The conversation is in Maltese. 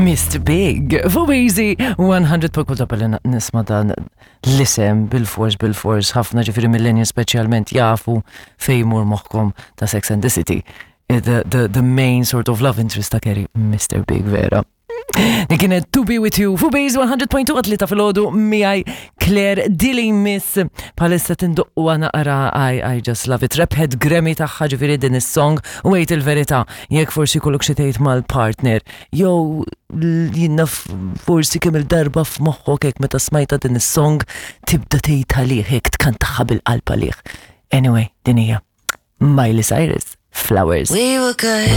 Mr. Big, fuq Easy 100 kull darba li nisma' dan l-isem bil-fors bil-fors ħafna ġifieri millennials speċjalment jafu fejn jmur moħħkom ta' Sex and the City. Eh, the, the, the main sort of love interest ta' Kerry, Mr. Big vera. Din kienet To Be With You fuq Base 100.2 għatlita fil-ħodu miegħi Claire Dilly Miss palissa tinduqqu naqra I, I Just Love It. Rebħet Grammy tagħha ġifieri din is-song u għid il-verità jekk forsi kollok xi tgħid mal-partner jew jinnaf forsi kemm il-darba f'moħħok hekk meta smajta din is-song tibda tgħid għalih hekk tkantaħħa bil-qalb għalih. Anyway, din hija Miley Cyrus, Flowers. We were good.